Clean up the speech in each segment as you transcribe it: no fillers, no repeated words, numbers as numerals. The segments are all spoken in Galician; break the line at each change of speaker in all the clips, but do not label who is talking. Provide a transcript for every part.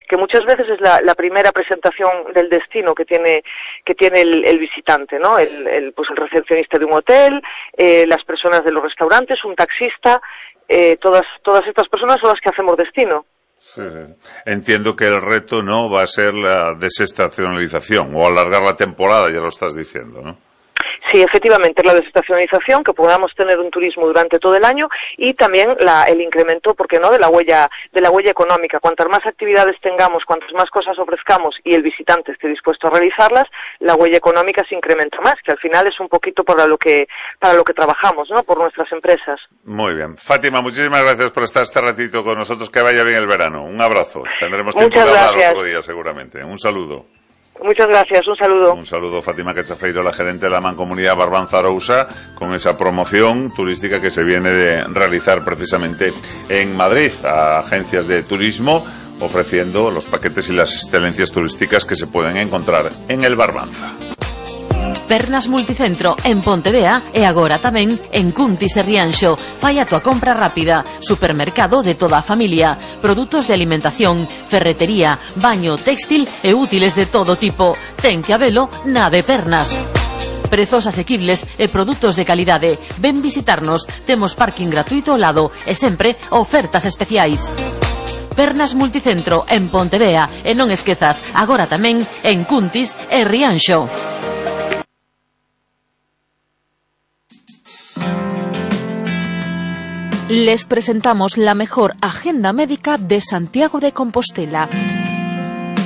que muchas veces es la primera presentación del destino que tiene el visitante, ¿no? Pues el recepcionista de un hotel, las personas de los restaurantes, un taxista, todas estas personas son las que hacemos destino.
Sí. Entiendo que el reto no va a ser la desestacionalización o alargar la temporada, ya lo estás diciendo, ¿no?
Sí, efectivamente, la desestacionalización, que podamos tener un turismo durante todo el año y también el incremento, ¿por qué no?, de la huella económica. Cuantas más actividades tengamos, cuantas más cosas ofrezcamos y el visitante esté dispuesto a realizarlas, la huella económica se incrementa más, que al final es un poquito para lo que trabajamos, ¿no?, por nuestras empresas.
Muy bien. Fátima, muchísimas gracias por estar este ratito con nosotros. Que vaya bien el verano. Un abrazo. Tendremos tiempo de hablar otro día seguramente. Un saludo.
Muchas gracias, un saludo.
Un saludo, Fátima Cachafeiro, la gerente de la Mancomunidad Barbanza Arousa, con esa promoción turística que se viene de realizar precisamente en Madrid a agencias de turismo, ofreciendo los paquetes y las excelencias turísticas que se pueden encontrar en el Barbanza.
Pernas Multicentro en Pontevea e agora tamén en Cuntis e Rianxo. Fai a tua compra rápida. Supermercado de toda a familia. Produtos de alimentación, ferretería, baño, textil e útiles de todo tipo. Ten que habelo na de Pernas. Prezos asequibles e produtos de calidade. Ven visitarnos. Temos parking gratuito ao lado e sempre ofertas especiais. Pernas Multicentro en Pontevea e non esquezas, agora tamén en Cuntis e Rianxo. Les presentamos la mejor agenda médica de Santiago de Compostela.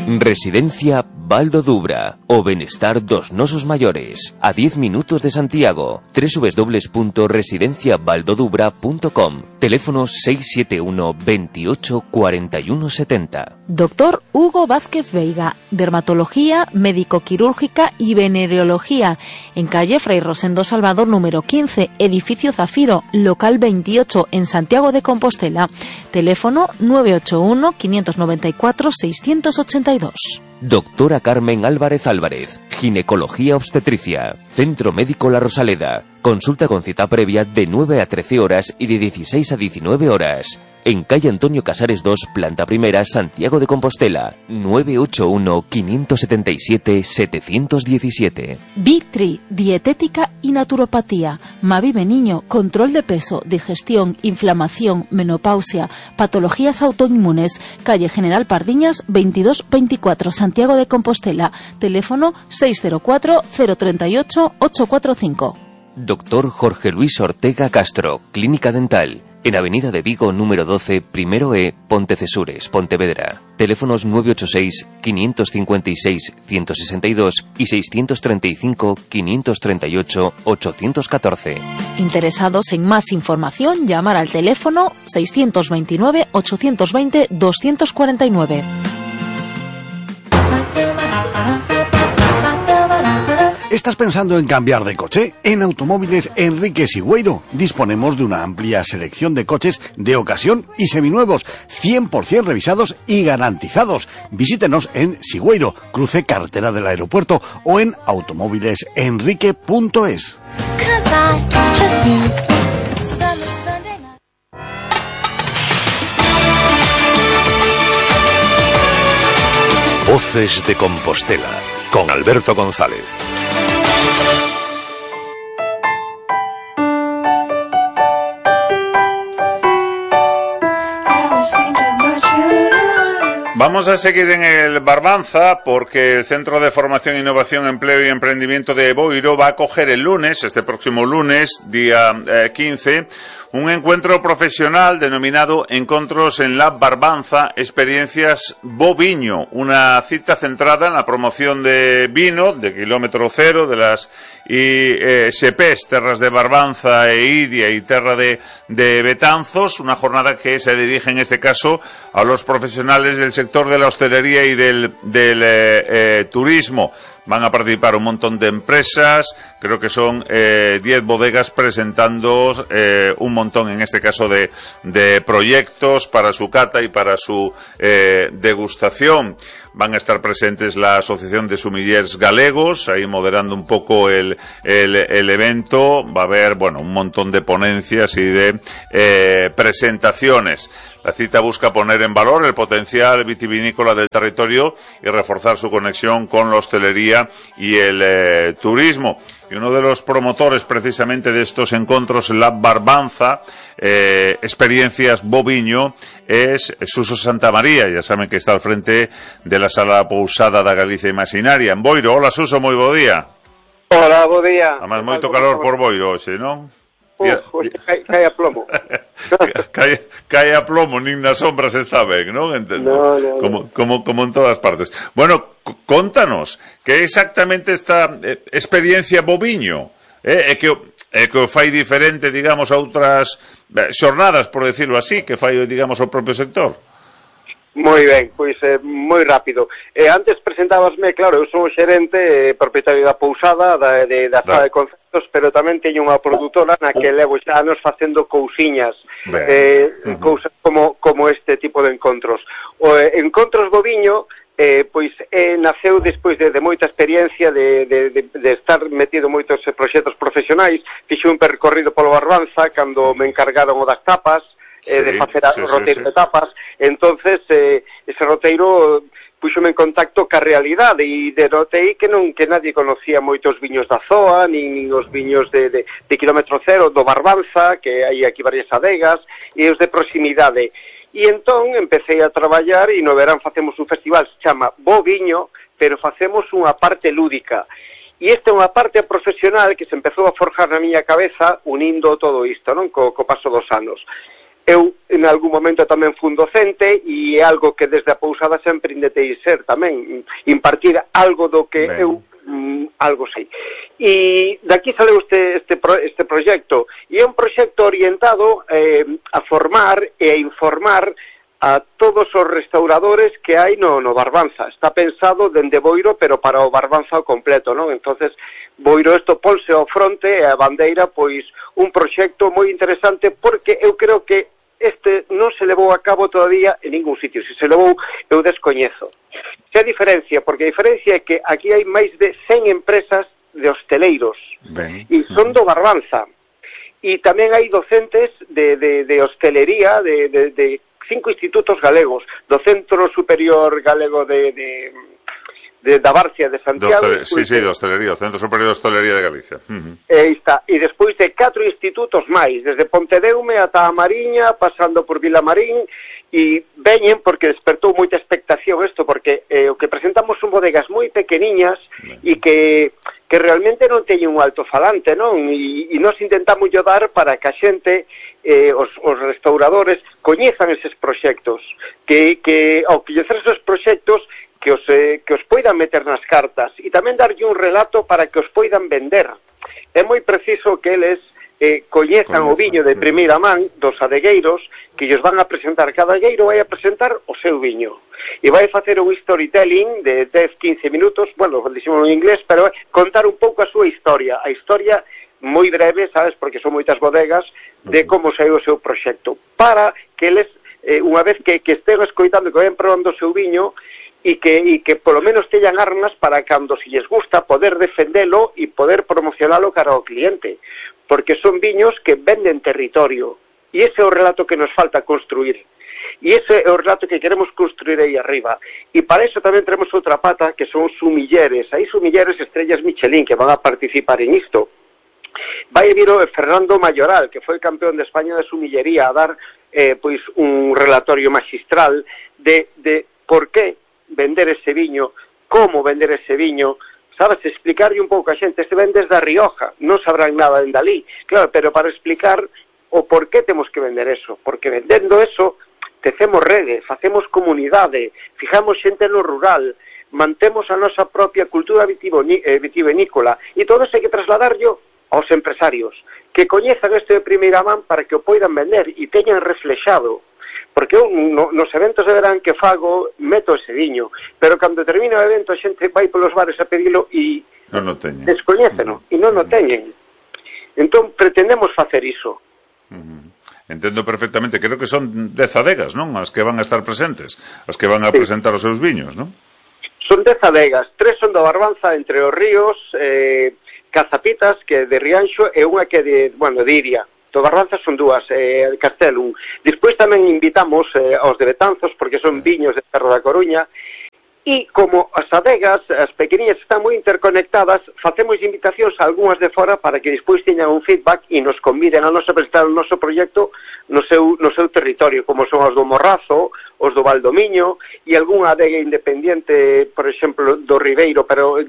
Residencia Baldo Dubra, o benestar dos nosos maiores, a 10 minutos de Santiago. www.residenciabaldodubra.com. Teléfono 671 28 41 70.
Doctor Hugo Vázquez Veiga, dermatología, médico-quirúrgica y venereología, en calle Fray Rosendo Salvador número 15, edificio Zafiro, local 28, en Santiago de Compostela. Teléfono 981 594 682.
Doctora Carmen Álvarez Álvarez, ginecología obstetricia, Centro Médico La Rosaleda. Consulta con cita previa de 9 a 13 horas y de 16 a 19 horas. En calle Antonio Casares 2, planta primera, Santiago de Compostela. 981 577 717.
Vitri, dietética y naturopatía. Mavive Niño, control de peso, digestión, inflamación, menopausia, patologías autoinmunes. Calle General Pardiñas 2224, Santiago de Compostela. Teléfono 604 038 845.
Doctor Jorge Luis Ortega Castro, Clínica Dental. En Avenida de Vigo, número 12, primero E, Pontecesures, Pontevedra. Teléfonos 986 556 162 y 635 538 814.
Interesados en más información, llamar al teléfono 629 820 249.
¿Estás pensando en cambiar de coche? En Automóviles Enrique Sigüeiro disponemos de una amplia selección de coches de ocasión y seminuevos, 100% revisados y garantizados. Visítenos en Sigüeiro, cruce carretera del aeropuerto, o en automóvilesenrique.es.
Voces de Compostela, con Alberto González.
Vamos a seguir en el Barbanza porque el Centro de Formación, Innovación, Empleo y Emprendimiento de Boiro va a acoger el lunes, este próximo lunes, día 15, un encuentro profesional denominado Encontros en la Barbanza, Experiencias Boviño, una cita centrada en la promoción de vino, de kilómetro cero, de las ISPs, Terras de Barbanza e Iria y Terra de Betanzos, una jornada que se dirige en este caso a los profesionales del sector de la hostelería y del turismo. van a participar un montón de empresas, creo que son 10 bodegas presentando un montón, en este caso, de proyectos para su cata y para su degustación. Van a estar presentes la Asociación de Sumillers Galegos, ahí moderando un poco el evento. Va a haber, bueno, un montón de ponencias y de presentaciones. La cita busca poner en valor el potencial vitivinícola del territorio y reforzar su conexión con la hostelería y el turismo. Y uno de los promotores precisamente de estos encuentros, la Barbanza, Experiencias Boviño, es Suso Santamaría. Ya saben que está al frente de la Sala Pousada da Galicia Imaxinaria en Boiro. Hola, Suso, moi bo día.
Hola, bo día.
Además, moito calor por Boiro hoxe, non?
Cae a plomo.
cae a plomo, nin nas sombras está ben, non? Entendo. No. Como en todas partes. Bueno, contanos, que exactamente esta experiencia boviño é que o fai diferente, digamos, a outras xornadas, por decirlo así, que fai, digamos, o propio sector?
Moi ben, pois moi rápido. Antes presentábasme, claro, eu son o xerente propietario da pousada, da sala de concertos, pero tamén teño unha produtora na que levo xa anos facendo cousiñas, cousas como este tipo de encontros. O Encontros Boviño, pois naceu despois de moita experiencia de estar metido en moitos proxectos profesionais. Fixe un percorrido polo Barbanza cando me encargaron o das tapas, de facer o roteiro de tapas. Entonces ese roteiro puxome en contacto ca realidade e denotei que nadie conocía moitos viños da ZOA, nin os viños de kilómetro cero do Barbanza, que hai aquí varias adegas, e os de proximidade. E entón empecé a traballar e no verán facemos un festival que se chama Boviño, pero facemos unha parte lúdica. E esta é unha parte profesional que se empezou a forjar na miña cabeza unindo todo isto, non? Co paso dos anos. Eu, en algún momento, tamén fui un docente e é algo que desde a pousada sempre intentei ser tamén, impartir algo do que eu algo sei. E daqui saleu este proxecto, e é un proxecto orientado a formar e a informar a todos os restauradores que hai no Barbanza. Está pensado dende Boiro, pero para o Barbanza ao completo, non? Entonces, Boiro isto ponse ao fronte e a bandeira, pois, un proxecto moi interesante, porque eu creo que este non se levou a cabo todavía en ningún sitio. Se levou, eu descoñezo. Se a diferencia, porque a diferencia é que aquí hai máis de 100 empresas de hosteleiros, e son do Barbanza. E tamén hai docentes de hostelería de 5 institutos galegos, do Centro Superior Galego da Barcia de Santiago.
Sí, de hostelería, o Centro Superior de Hostelería de Galicia.
Aí está. E despois de 4 institutos máis, desde Pontedeume ata a Mariña, pasando por Vilamarín, e veñen porque despertou moita expectación isto, porque o que presentamos son bodegas moi pequeniñas e que realmente non teñen un alto-falante, non? E nós intentamos dar para que a xente, os restauradores, coñezan eses proxectos, que ao coñecer esos proxectos, que os poidan meter nas cartas e tamén darlle un relato para que os poidan vender. É moi preciso que eles coñezan o viño de primeira man dos adegueiros, que ellos van a presentar. Cada adegueiro vai a presentar o seu viño e vai facer un storytelling de 10-15 minutos, bueno, dixemos en inglés, pero contar un pouco a súa historia, a historia moi breve, sabes, porque son moitas bodegas, de como saiu o seu proxecto, para que eles, unha vez que estén escoitando, que vayan probando o seu viño, e que polo menos teñan armas para cando se lles gusta poder defendelo e poder promocionalo cara ao cliente, porque son viños que venden territorio, e ese é o relato que nos falta construir, e ese é o relato que queremos construir aí arriba. E para iso tamén tenemos outra pata, que son sumilleres. Hai sumilleres estrellas Michelin que van a participar en isto. Vai vir o Fernando Mayoral, que foi campeón de España de sumillería, a dar pois un relatorio magistral de por que vender ese viño, como vender ese viño, sabes, explicarlle un pouco a xente. Se ven desde a Rioja, non sabrán nada en Dalí, claro, pero para explicar o por que temos que vender eso, porque vendendo eso tecemos rede, facemos comunidade, fijamos xente no rural, mantemos a nosa propia cultura vitivinícola, e todo eso hai que trasladarlo aos empresarios, que coñezan isto de primeira man para que o poidan vender e teñan reflexado, porque eu nos eventos de verán que fago meto ese viño, pero cando termina o evento a xente vai polos bares a pedilo e
non o teñen,
descoñéceno e non o teñen. Entón pretendemos facer iso.
Entendo perfectamente, creo que son 10 adegas, non? As que van a estar presentes, as que van a presentar os seus viños, non?
Son 10 adegas, 3 son da Barbanza, Entre os Ríos, Cazapitas, que é de Rianxo, e unha que é de Iria. Do Barbanza son 2, Castelum. Despois tamén invitamos aos de Betanzos, porque son viños de Terra da Coruña, e como as adegas, as pequeniñas, están moi interconectadas, facemos invitacións a algunhas de fora para que despois teñan un feedback e nos conviden a nos a presentar o noso proxecto no seu territorio, como son os do Morrazo, os do Valdomiño e algunha adega independiente, por exemplo, do Ribeiro, pero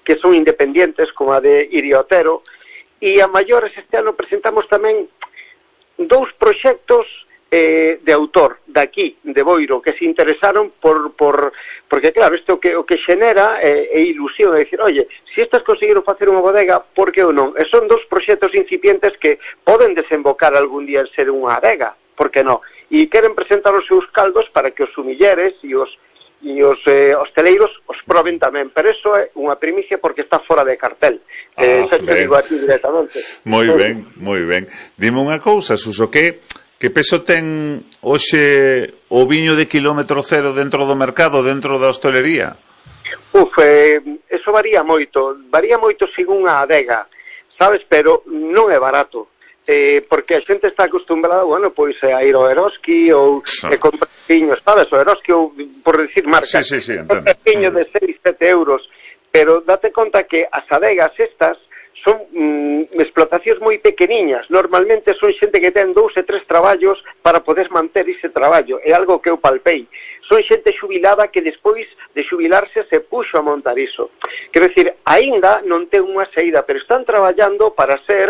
que son independientes, como a de Iriotero. E a maiores este ano presentamos tamén 2 proxectos de autor daqui, de Boiro, que se interesaron porque claro, isto o que xenera é ilusión, é dicir, oye, se estas conseguiron facer unha bodega, por que ou non? E son 2 proxectos incipientes que poden desembocar algún día en ser unha adega, por que non? E queren presentar os seus caldos para que os sumilleres e os hosteleiros os proben tamén, pero eso é unha primicia porque está fora de cartel. Xa te digo aquí directamente.
Moi ben, moi ben. Dime unha cousa, Suso, que peso ten hoxe o viño de kilómetro cero dentro do mercado, dentro da hostelería?
Eso varía moito según a adega, sabes, pero non é barato. Porque a xente está acostumbrada, pois a ir ao Eroski ou comprar viños, sabes, o Eroski ou, por decir marca,
entendo.
Un viño de 6-7 euros, pero date conta que as adegas estas son explotacións moi pequeniñas, normalmente son xente que ten 2 e 3 traballos para poder manter ese traballo, é algo que eu palpei. Son xente xubilada que despois de xubilarse se puxo a montar iso. Quero dicir, aínda non ten unha saída, pero están traballando para ser...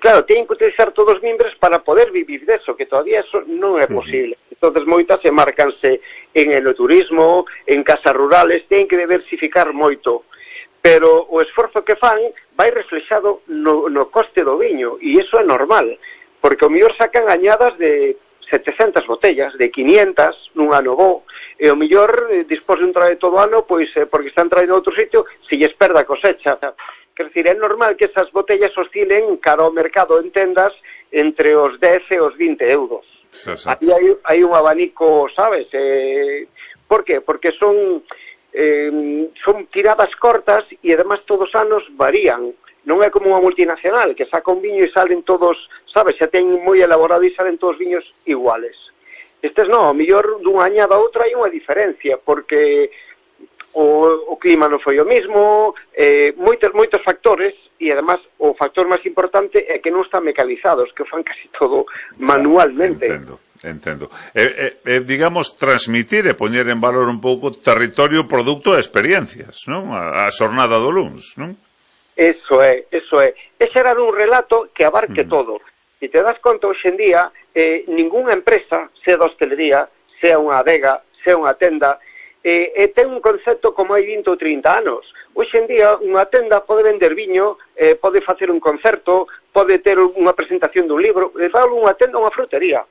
claro, teñen que utilizar todos os mimbres para poder vivir deso, que todavía eso non é posible. Entonces moitas se marcanse en enoturismo, en casas rurales, teñen que diversificar moito. Pero o esforzo que fan vai reflexado no coste do viño, e iso é normal, porque o mellor sacan añadas de 700 botellas, de 500 nun ano bo, e o mellor, despois de un traballo todo ano, pois porque están traendo a outro sitio, se lles perda a cosecha. Quer dizer, é normal que esas botellas oscilen cara ao mercado en tendas entre os 10 e os 20 euros. Aí hai un abanico, sabes? Por qué? Porque son tiradas cortas e además todos os anos varían. Non é como unha multinacional que saca un viño e salen todos, sabes, xa ten moi elaborado e salen todos viños iguales. Estes non, ao mellor dunha añada a outra hai unha diferencia, porque o clima non foi o mesmo, moitos factores, e además o factor máis importante é que non están mecanizados, que fan casi todo manualmente.
Entendo. Digamos, transmitir e poñer en valor un pouco territorio, produto e experiencias, non? A xornada do luns, non?
Eso é. É xerar un relato que abarque todo. E te das conta, hoxe en día, ningunha empresa, sea da hostelería, sea unha adega, sea unha tenda, ten un concepto como hai 20 ou 30 anos. Hoxe en día, unha tenda pode vender viño, pode facer un concerto, pode ter unha presentación dun libro, falo unha tenda, unha frutería.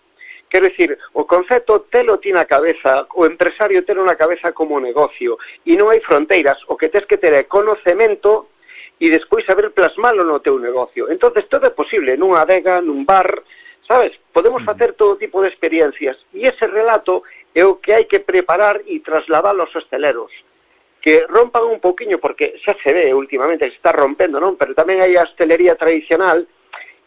Quero dicir, o concepto telo ti na cabeza, o empresario telo na cabeza como negocio, e non hai fronteiras. O que tens que ter é conocemento e despois saber plasmalo no teu negocio. Entonces todo é posible, nunha adega, nun bar, sabes? Podemos facer todo tipo de experiencias, e ese relato é o que hai que preparar e trasladar aos hosteleros, que rompan un poquinho, porque xa se ve últimamente que se está rompendo, non? Pero tamén hai a hostelería tradicional,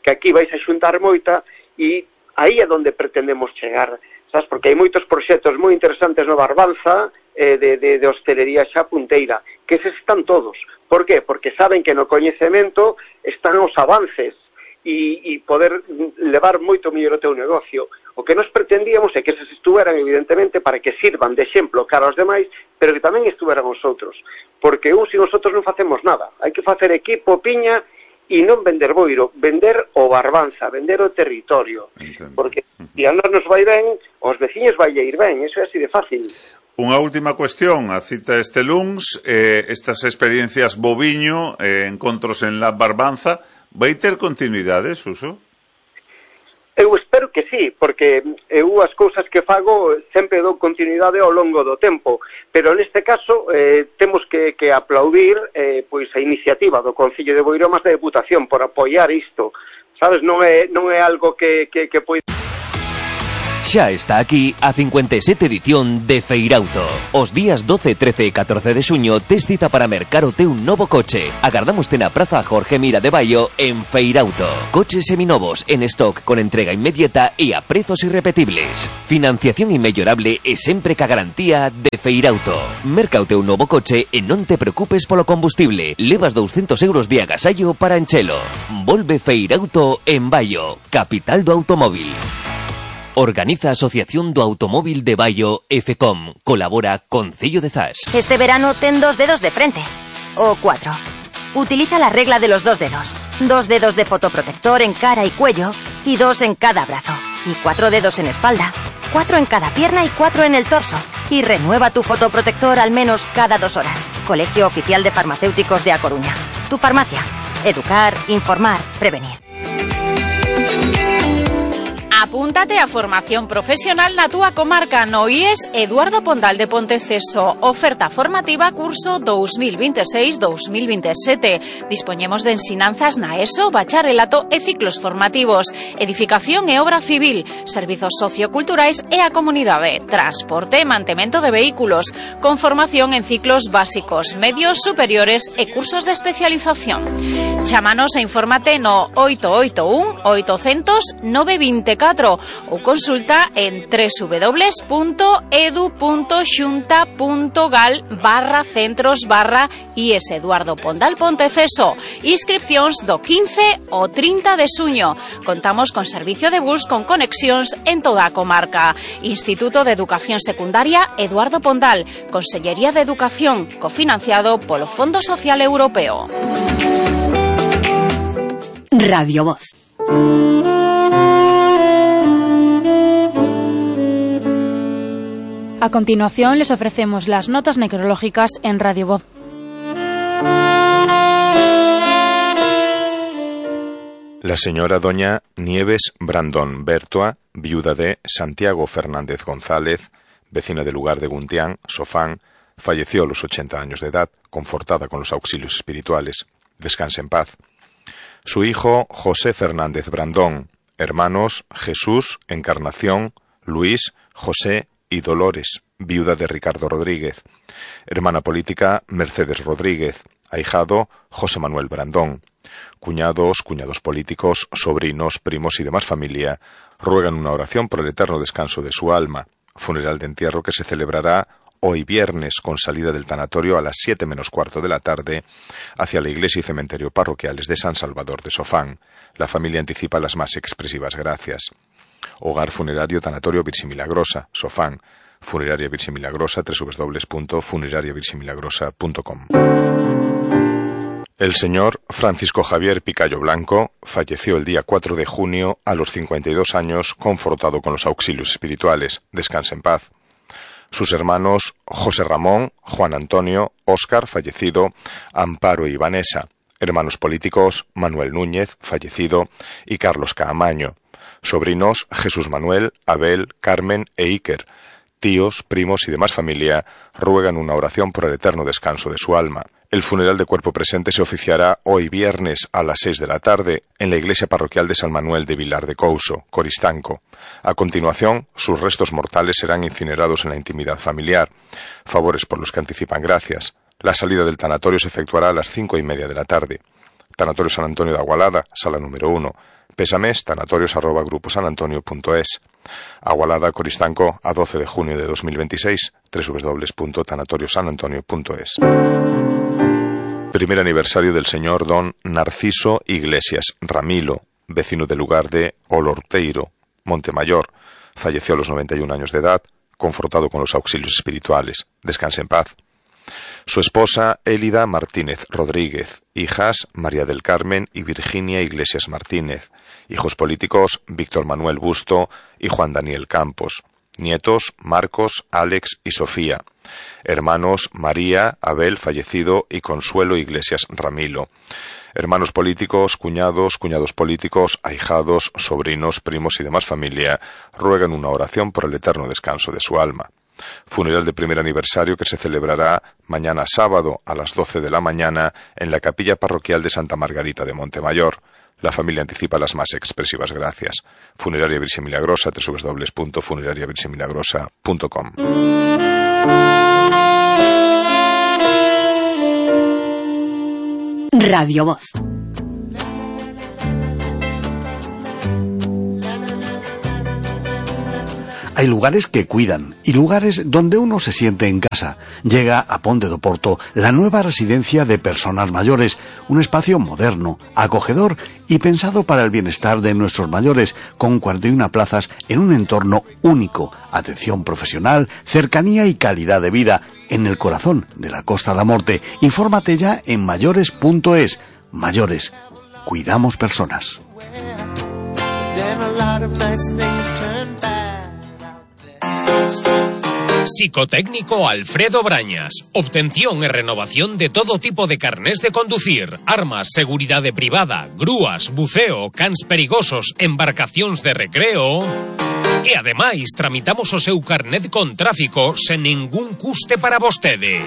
que aquí vais a xuntar moita, e aí é onde pretendemos chegar, sabes? Porque hai moitos proxectos moi interesantes no Barbanza, de hostelería xa punteira, que eses están todos. Por qué? Porque saben que no coñecemento están os avances e poder levar moito mellor o teu negocio. O que nos pretendíamos é que eses estuveran, evidentemente, para que sirvan de exemplo cara aos demais, pero que tamén estuveran os outros. Porque uns e os outros non facemos nada. Hai que facer equipo, piña, e non vender Boiro, vender o Barbanza, vender o territorio. Entendo. Porque se a nos vai ben, os veciños vai ir ben, eso é así de fácil.
Unha última cuestión, a cita este luns, estas experiencias boviño, encontros en la Barbanza, vai ter continuidade, Suso?
Eu espero que sí, porque eu as cousas que fago sempre dou continuidade ao longo do tempo, pero neste caso temos que aplaudir pois a iniciativa do Concello de Boiro máis da Deputación por apoiar isto, sabes, non é algo que pois...
Xa está aquí a 57 edición de Feirauto. Os días 12, 13 e 14 de xuño tes cita para mercar o teu novo coche. Agardámoste na Praza Jorge Mira de Baio en Feirauto. Coches seminovos en stock con entrega inmediata e a prezos irrepetibles. Financiación inmellorable e sempre ca garantía de Feirauto. Merca o teu novo coche e non te preocupes polo combustible. Levas 200 euros de agasallo para enchelo. Volve Feirauto en Baio, capital do automóvil. Organiza Asociación do Automóvil de Baio e FECOM. Colabora Concello de Zas.
Este verano ten 2 dedos de frente. O 4. Utiliza la regla de los 2 dedos. 2 dedos de fotoprotector en cara y cuello y 2 en cada brazo. Y 4 dedos en espalda. 4 en cada pierna y 4 en el torso. Y renueva tu fotoprotector al menos cada 2 horas. Colegio Oficial de Farmacéuticos de A Coruña. Tu farmacia. Educar, informar, prevenir.
Apúntate a formación profesional na túa comarca no IES Eduardo Pondal de Ponteceso. Oferta formativa curso 2026-2027. Dispoñemos de ensinanzas na ESO, bacharelato e ciclos formativos, edificación e obra civil, servizos socioculturais e a comunidade, transporte e mantemento de vehículos, con formación en ciclos básicos, medios superiores e cursos de especialización. Chámanos e infórmate no 881 800 924 ou consulta en www.edu.xunta.gal/centros/IES Eduardo Pondal Ponteceso. Inscripcións do 15 ao 30 de xuño. Contamos con servicio de bus con conexións en toda a comarca. Instituto de Educación Secundaria Eduardo Pondal. Consellería de Educación, cofinanciado polo Fondo Social Europeo.
Radio Voz.
A continuación les ofrecemos las notas necrológicas en Radio Voz.
La señora doña Nieves Brandón Bertoa, viuda de Santiago Fernández González, vecina del lugar de Guntián, Sofán, falleció a los 80 años de edad, confortada con los auxilios espirituales. Descanse en paz. Su hijo José Fernández Brandón, hermanos Jesús, Encarnación, Luis, José y Dolores, viuda de Ricardo Rodríguez. Hermana política Mercedes Rodríguez. Ahijado José Manuel Brandón. Cuñados políticos, sobrinos, primos y demás familia ruegan una oración por el eterno descanso de su alma. Funeral de entierro que se celebrará hoy viernes con salida del tanatorio a las 7 menos cuarto de la tarde hacia la iglesia y cementerio parroquiales de San Salvador de Sofán. La familia anticipa las más expresivas gracias. Hogar Funerario Tanatorio Virgen Milagrosa, Sofán. Funeraria Virgen Milagrosa, www.funerariavirgenmilagrosa.com. El señor Francisco Javier Picayo Blanco falleció el día 4 de junio a los 52 años, confortado con los auxilios espirituales. Descanse en paz. Sus hermanos José Ramón, Juan Antonio, Óscar, fallecido, Amparo y Vanessa. Hermanos políticos Manuel Núñez, fallecido, y Carlos Caamaño. Sobrinos Jesús Manuel, Abel, Carmen e Iker. Tíos, primos y demás familia ruegan una oración por el eterno descanso de su alma. El funeral de cuerpo presente se oficiará hoy viernes a las 6 de la tarde en la iglesia parroquial de San Manuel de Vilar de Couso, Coristanco. A continuación, sus restos mortales serán incinerados en la intimidad familiar. Favores por los que anticipan gracias. La salida del tanatorio se efectuará a las 5:30 de la tarde. Tanatorio San Antonio de Agualada, sala número 1. Pésames, tanatorios@gruposanantonio.es. Agualada, Coristanco, a 12 de junio de 2026, www.tanatoriosanantonio.es. Primer aniversario del señor don Narciso Iglesias Ramilo, vecino del lugar de Olorteiro, Montemayor. Falleció a los 91 años de edad, confortado con los auxilios espirituales. Descanse en paz. Su esposa Élida Martínez Rodríguez, hijas María del Carmen y Virginia Iglesias Martínez, hijos políticos Víctor Manuel Busto y Juan Daniel Campos. Nietos: Marcos, Alex y Sofía. Hermanos: María, Abel, fallecido, y Consuelo Iglesias Ramilo. Hermanos políticos, cuñados, cuñados políticos, ahijados, sobrinos, primos y demás familia ruegan una oración por el eterno descanso de su alma. Funeral de primer aniversario que se celebrará mañana sábado a las 12 de la mañana en la capilla parroquial de Santa Margarita de Montemayor. La familia anticipa las más expresivas gracias. Funeraria Virgen Milagrosa, www.funerariavirgenmilagrosa.com.
Radio Voz.
Hay lugares que cuidan y lugares donde uno se siente en casa. Llega a Ponte do Porto la nueva residencia de personas mayores, un espacio moderno, acogedor y pensado para el bienestar de nuestros mayores, con 41 plazas en un entorno único, atención profesional, cercanía y calidad de vida, en el corazón de la Costa da Morte. Infórmate ya en mayores.es. Mayores, cuidamos personas.
Psicotécnico Alfredo Brañas. Obtención y renovación de todo tipo de carnés de conducir, armas, seguridade privada, grúas, buceo, cans perigosos, embarcacións de recreo. E ademais tramitamos o seu carnet con tráfico sen ningún custe para vostede.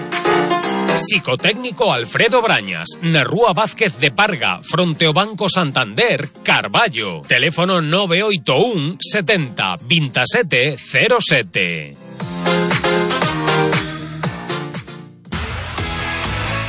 Psicotécnico Alfredo Brañas, na Rúa Vázquez de Parga, fronte ao Banco Santander, Carballo. Teléfono 981 70 27 07.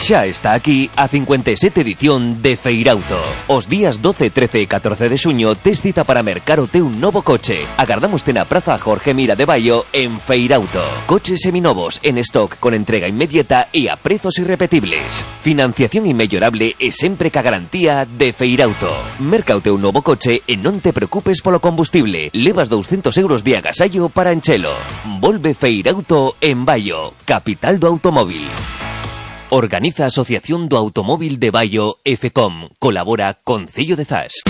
Xa está aquí a 57 edición de Feirauto. Os días 12, 13 e 14 de xuño tes cita para mercar o teu novo coche. Agardámoste na Praza Jorge Mira de Baio en Feirauto. Coches seminovos en stock con entrega inmediata e a prezos irrepetibles. Financiación inmellorable e sempre ca garantía de Feirauto. Merca o teu novo coche e non te preocupes polo combustible. Levas 200 euros de agasallo para enchelo. Volve Feirauto en Baio, capital do automóvil. Organiza a Asociación do Automóvil de Baio, EFECOM. Colabora Concello de Zas.